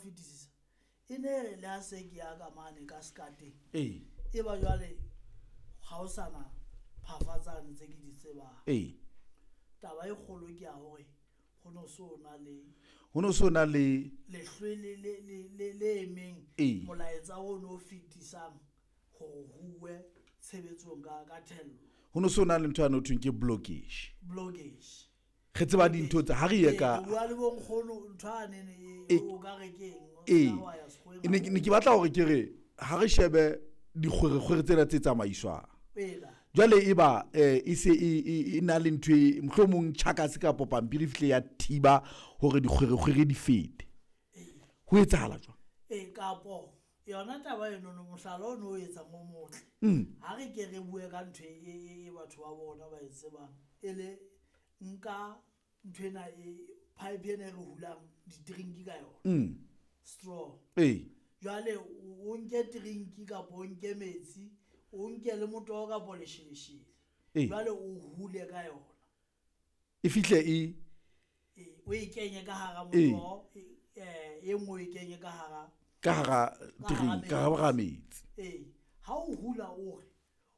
fetisisa e ne re le ha se ke ya ka mane ka sekateng Ee. e ba jwale ga o sana phafatsane tse ke di tsebang. Taba e kgolo ke ya hore go no so na le Ho no so na le lehlwele le emeng molaetsa o no fetisang hore huwe tshebetsong ka thello. Ho no so na le ntho ya no thweng ke blockage. Blockage. Re tseba dintho tsa ha re ye ka bua le bonkgono ntho a nene o ka re keng wa ya sekgoweng Ne ke batla hore ke re ha re shebe dikgwerekgwere tsena tse tsamaiswang. Jwale e ba e se e na le ntho e mohlomong tjhakase kapa pampiri e fihle ya thiba hore dikgwerekgwere di fete. Ho etsahala jwang? Kapo yona taba eno no mohlala o no o etsang o motle. Ha re ke re bue ka ntho e batho ba bona ba e tsebang e le nka ntho ena e pipe ena e re hulang di-drink ka yona. Straw. Jwale o nke drink kapa o nke metsi, o nke le motoho kapa lesheleshele. Jwale o hule ka yona. E fihle e o e kenye ka hara motoho, e nngwe o e kenye ka hara ka hara drink, ka hara metsi. Ha o hula o re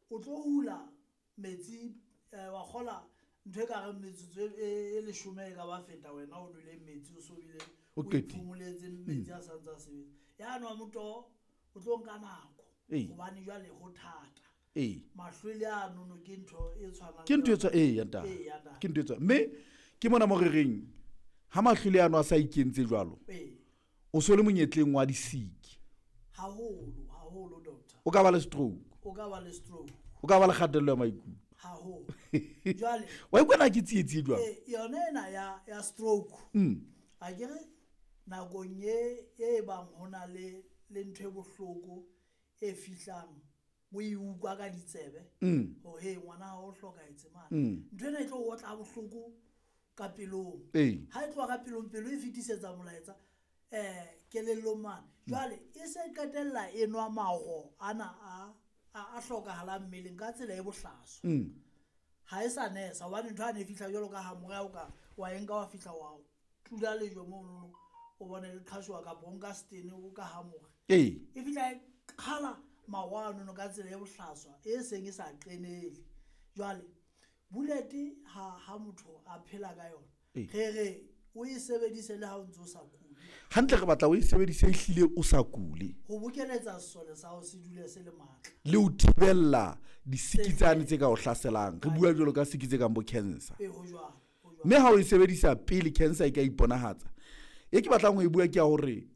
o tlo hula metsi wa kgola ntho e ka reng metsotso e leshome e ka ba feta wena o nwele metsi o so bile O o qetile. iphumoletse metsi a santse a sebetsa. Ya nwa motoho o tlo nka nako hobane jwale ho thata. Mahlwele a nono ke ntho e tshwanang Ke ntho e le tshwa-, ee, ya ntate. Ya ntate. Ke ntho e tshwa-, mme ke mona mo re reng ha mahlwele ano a sa ikentse jwalo, o so le monyetleng wa disiki. Haholo, haholo, doctor. O ka ba le stroke. O ka ba le stroke. O ka ba le kgatello ya maikutlo. Haholo. Jwale wa ikutlwa na ke tsietsi jwang? Yona ena ya stroke. A ke re nakong e bang ho na le ntho e bohloko e fihlang o e utlwa ka ditsebe hore he ngwana hao o hlokahetse mane. Ntho ena e tlo otla bohloko ka pelong. Ha e tloha ka pelong, pelo e fetisetsa molaetsa kelellong mane. Jwale e se qetella e nwa maho ana a hlokahalang mmeleng ka tsela e bohlaswa. Ha e sa nesa hobane ntho ha ne e fihla jwalo ka ha morao o ka wa e nka wa fihla wa tula lejwe monono o bone le qhashoa kapa o nka setene o ka hamore. E fihla e qhala maho ano ka tsela e bohlaswa e seng e sa qenele. Jwale bullet ha motho a phela ka yona, re re o e sebedise le ha o ntso o sa kule. Hantle re batla o e sebedise ehlile o sa kule. Ho bokeletsa sesole sa hao se dule se le matla. Le ho thibella disiki tsane tse ka o hlaselang. Re bua jwalo ka siki tse kang bo cancer. Ho jwalo, ho jwalo. Mme ha o e sebedisa pele cancer e ka iponahatsa, e ke batlang ho e bua ke ya hore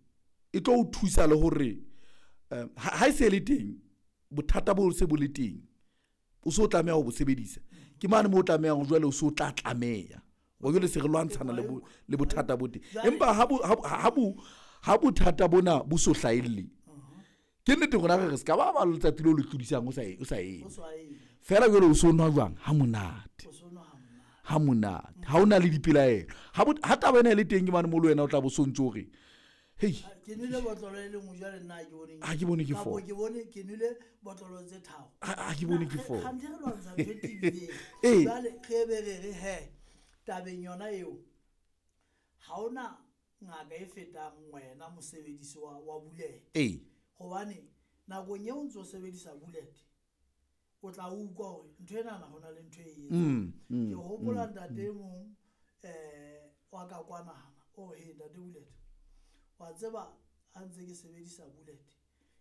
e tlo o thusa le hore, ha e se le teng, bothata bo se bo le teng, o so tlameha ho bo sebedisa. Ke mane moo o tlamehang jwale o so tla tlameha. Wa jwale se re lwantshana le bothata bo teng. Empa ha bothata bona bo so hlahelle, ke nnete rona re re se ka ba ba letsatsi leo le tlodisang o sa e, o sa eme. O sa eme. Feela jwale o so nwa jwang? Ha monate. O so nwa ha monate. Ha monate. Ha o na le dipelaelo. Ha taba ena e le teng ke mane moo le wena o tla bo so ntso re, hei. Ke nwele botlolo e le nngwe jwale nna ha ke bone Ha ke bone ke Kapo four. ke bone ke nwele botlolo tse tharo. Ha ke bone ke Na, four. kganthe re lwantsha ntho e tebileng. Jwale re be re re he, tabeng yona eo, ha hona ngaka e fetang wena mosebedisi wa bullet. Hobane nakong eo o ntso sebedisa bullet, o tla utlwa hore ntho enana hona le ntho e etsang. Ke hopola ntate e mong, wa ka kwanana, o he ntate Bullet, wa tseba ha ntse ke sebedisa bullet,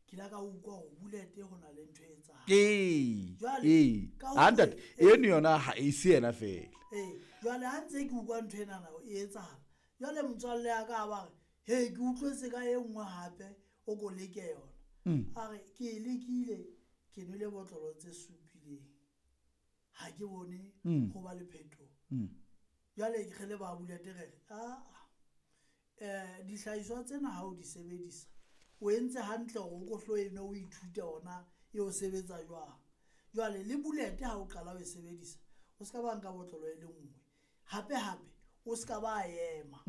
ke ile ka utlwa hore bullet ho na le ntho e etsahalang. Jwale, ka Ha hore ntate, eno yona ha e se yena feela. Jwale ha ntse ke utlwa ntho enana e etsahala, jwale motswalle ya ka a ba re, he, ke utlwetse ka e nngwe hape, o ko leke yona. A re, ke e lekile, ke nwele botlolo tse supileng. Ha ke bone ho ba le phetoho. Jwale re le ba Bullet re re, dihlahiswa tsena ha o di sebedisa, o entse hantle hore o ko hlo eno o ithute hona e o sebetsa jwang. Jwale le Bullet ha o qala ho e sebedisa, o ska ba nka botlolo e le nngwe. Hape hape, o ska ba ema.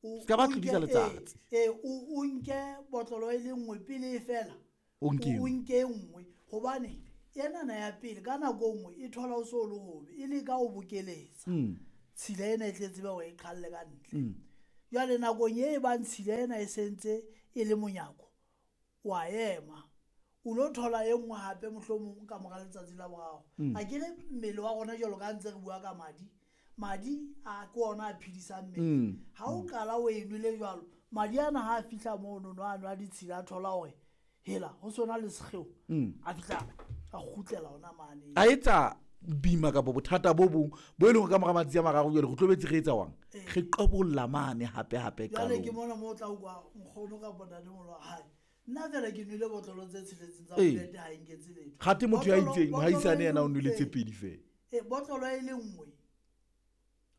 O Ska ba tlodisa letsatsi. O nke botlolo e le nngwe pele e fela. O nke O e nngwe. nke e nngwe, hobane enana ya pele ka nako e nngwe e thola o so le hobe, e leka ho bokeletsa. Tshila ena e tle tsebe hore e qhalle ka ntle. Jwale nakong e bang tshila ena e sentse e le monyako, wa ema. O lo thola e nngwe hape mohlomong ka mora letsatsi la boraro. Akere mmele wa rona jwalo ka ntse re bua ka madi, madi a ke ona a phedisang mmele. Ha o qala o e nwele jwalo, madi ana ha a fihla mono no a nwa ditshila, a thola hore hela ho sona le sekgeo, a fihla a kgutlela hona mane. A etsa bima kapa bothata bo bong bo e leng hore ka mora matsatsi a mararo jwale re tlobetse re etsa wang, re qobolla mane hape hape Jwale ke qalong. mona moo o tla utlwa nkgono kapa ntatemoholo wa hae, nna fela ke nwele botlolo tse tsheletseng tsa Ee. bullet ha e nketse letho. Kgathe motho ya Botlolo- itseng botlolo mohaisane e yena o le nwele tse nngwe. pedi fela. Ee, botlolo e le nngwe,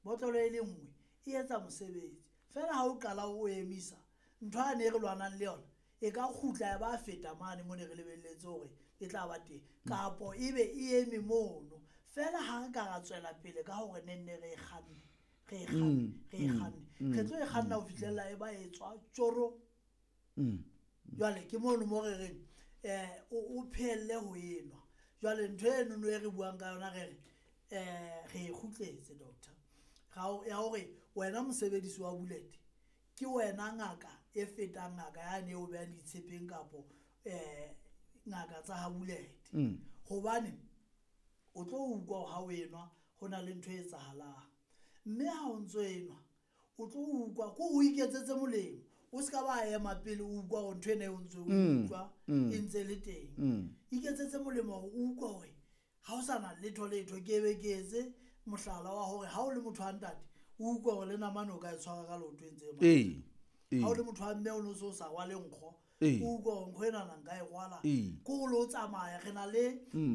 botlolo e le nngwe e etsa mosebetsi fela. Ha o qala o emisa ntho ane e re lwanang le yona, e ka kgutla ya ba feta mane mo ne re lebelletse hore e tla ba teng, kapo ebe e eme mono fela. Ha re ka ra tswela pele ka hore ne nne re e kganne, re e kganne, re e kganne, re tlo e kganna ho fihlella e ba e tswa tjoro. Jwale ke mono mo re reng o phehelle ho enwa. Jwale ntho enono e re buang ka yona, re re re e kgutletse doctor, ya hore wena mosebedisi wa bullet ke wena ngaka e fetang ngaka yane eo behang ditshepeng kapo ngaka tsa ha bullet. Hobane o tlo utlwa hore ha o enwa ho na le ntho e etsahalang, mme ha o ntso enwa o tlo utlwa ko o iketsetse molemo. O ska ba ema pele o utlwa hore ntho ena e o ntso o utlwa e ntse le teng. Iketsetse molemo hore o utlwe hore ha o sa na letho letho. Ke be ke etse mohlala wa hore ha o le motho wa ntate, o utlwe hore le namane o ka e tshwara ka leoto e ntse e matha. Ha o le motho wa mme, o no so sa rwale nkgo, o utlwe hore nkgo enana nka e rwala. Ke hore le o tsamaya re na le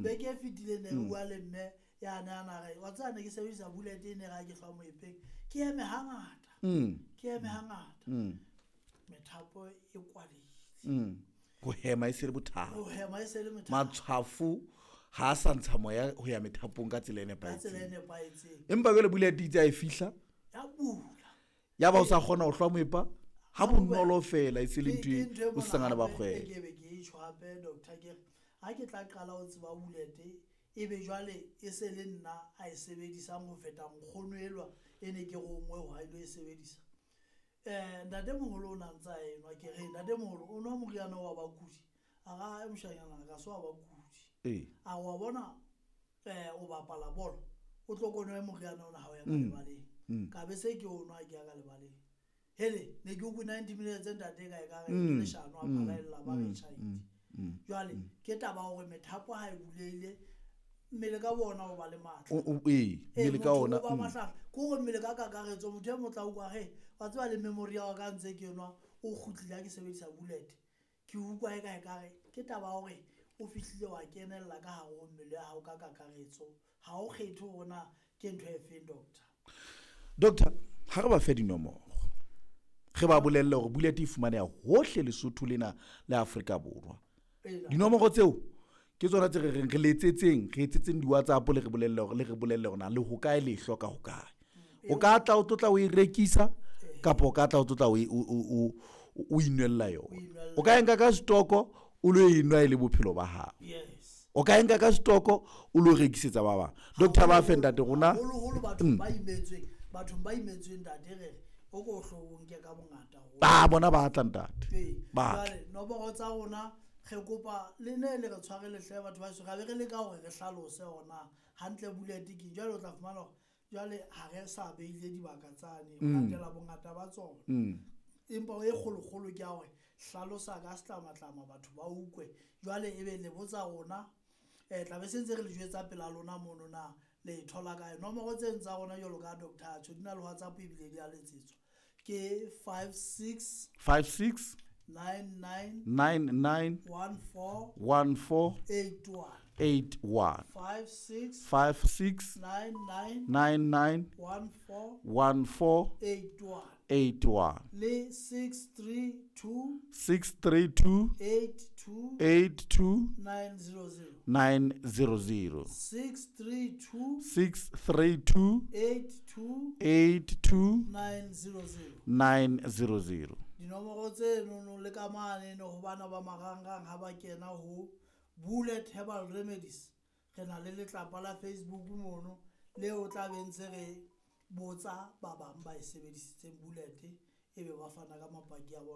beke e fetileng ne re bua le mme yane a na re, wa tseba, ne ke sebedisa bullet e ne re ha ke hlwa moepeng ke eme hangata, ke eme hangata, methapo e kwalehile. Ho hema e se le bothata. Ho hema e se le methapo. Matshwafo ha a sa ntsha moya ho ya methapong ka tsela e Ka tsela e nepahetseng. nepahetseng. Empa jwale bullet itse ha e fihla, Ya bula. ya ba o sa kgona ho hlwa moepa ha bonolo fela, e se le Ke ntho e ntho e o mona sangana ba hape e kgwele. ke be ke e tjho hape doctor, ke re ha ke tla qala ho tseba bullet, e be jwale e se le nna a e sebedisang ho feta nkgono elwa e ne ke rongwe hore a ilo e sebedisa. Ntatemoholo o na ntsa enwa, ke re ntatemoholo o nwa moriana wa bakudi, a ra moshanyana ka se wa bakudi. A wa bona, o bapala bolo, o tlo ko nwe moriana ona ha o ya ka lebaleng. Ka be se ke o nwa ke ya ka lebaleng, hele ne ke ukwe 90 minutes ntate ka e ka re ke leshano a phalaella ba re tjhaitse. Jwale ke taba hore methapo ha e bulehile, mmele ka bona o ba le matla. Ee, Ee, mmele ka motho ona. o ba mahlahla. Ke hore mmele ka kakaretso, motho e motla utlwa he wa tseba le memory ya ka ntse ke nwa o kgutlile ha ke sebedisa bullet, ke utlwa e ka ekare ke taba ya hore o fihlile wa kenella ka hare ho mmele ya hao ka kakaretso. Ha o kgethe hore na ke ntho e feng doctor. Doctor, ha re ba fe dinomoro, re ba bolelle hore bullet e fumaneha hohle Lesotho lena le Afrika Borwa. Dinomoro tseo ke tsona tse re reng re letsetseng, re etsetseng di-WhatsApp le re bolelle hore le re bolelle hore na le hokae, le e hloka hokae. O ka tla o tlotla o e rekisa, kapa o ka tla o tlotla o e- o o o o inwella yona. Inwella. O ka e nka ka stoko o lo e nwa e le bophelo ba hao. O ka e nka ka stoko o lo rekisetsa ba bang. Doctor, ba fe ntate rona. Haholoholo bathong ba imetsweng, bathong ba imetsweng ntate, re re o ko hlo o nke ka bongata haholo. Ba bona ba tla ntate. Ee, Ba tla. jwale nomoro tsa rona, re kopa le ne le re tshware lehle batho ba heso, ra be re leka hore re hlalose hore na hantle bullet ke eng. Jwale o tla fumana hore jwale ha re sa beile dibaka tsane ho latela bongata ba tsona, empa e kgolokgolo ke ya hore hlalosa ka setlamatlama batho ba utlwe. Jwale ebe le botsa rona, tla be se ntse re le jwetsa pela lona mono na le e thola kae. Nomoro tseno tsa rona jwalo ka doctor atjho, di na le WhatsApp ebile di a letsetswa, ke 56 56 99 99 14 14 81. 81. 56 56 99 99 14 14 81. 81. Le 632 632 82 82 900. 900. 632 632 82 82 900. 900. Dinomoro tsenono le ka mane ho bana ba marangrang ha ba kena ho Bullet Herbal Remedies, re na le letlapa la Facebook mono leo tla be ntse re botsa ba bang ba e sebedisitseng bullet Ebe ba fana ka mapaki a bona.